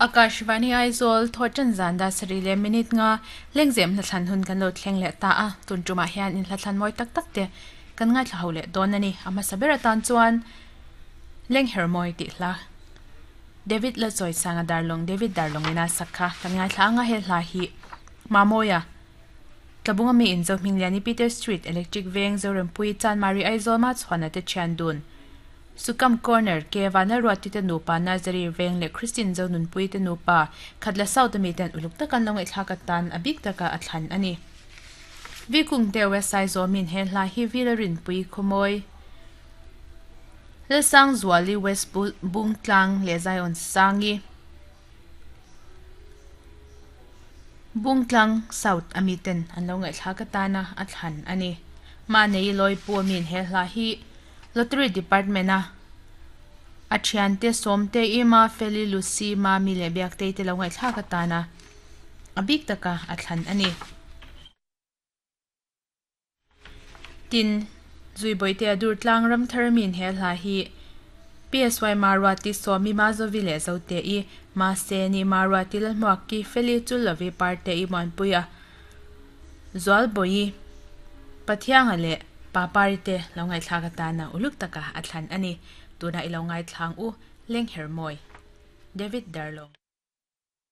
Akashvani Aizawl thawhtan zan dar sarih leh minute nga lengzem hlathlan hun kan lo thleng leh ta a, tun tumah hian in hlathlan mawi tak tak te kan ngaithla ho leh dawn a ni. A hmasa ber atan chuan Lengher mawi tih hla David Lachawisanga Darlawng David Darlawng ina sak kha kan ngaithla anga he hla hi Mamawia Tlabunga mi in Zohmingliani Peter Street Electric Veng Zorempuii Chanmari Aizawl Machhuana te thian dun Sukam Corner ke Vanlalruati te nupa Nazari Veng leh Christine Zonunpui te nupa Khatla South ami ten uluk taka an lo ngaihthlak atan a bik taka a thlan a ni. Vikung te West Aizawl min he hla hi Vila Rinpui Khawmawi Lalsangzuali West Bungtlang leh Zion Sangi Bungtlang South ami ten an lo ngaihthlak atana a thlan a ni. Mahni Lawipu ami in he hla hi Lottery Department a a thiante Sawmte, Ima, Feli, Lucy, Mami leh Biaktei te lo ngaihthlak atana a bik taka a thlan a ni. Tin, Zuibawihte a dur tlang ram thar min he hla hi PSY Maruati Sawmi Mazovi leh Zote-i, Maseni Maruati Lalhmuaki, Feli Chullovi Parte-i Muanpuia, Zualbawihi, Pathianga leh Papari te lo ngaihthlak atana uluk taka a thlan a ni. Tunah i lo ngaithlang u, Lenghermawi. David Darlong.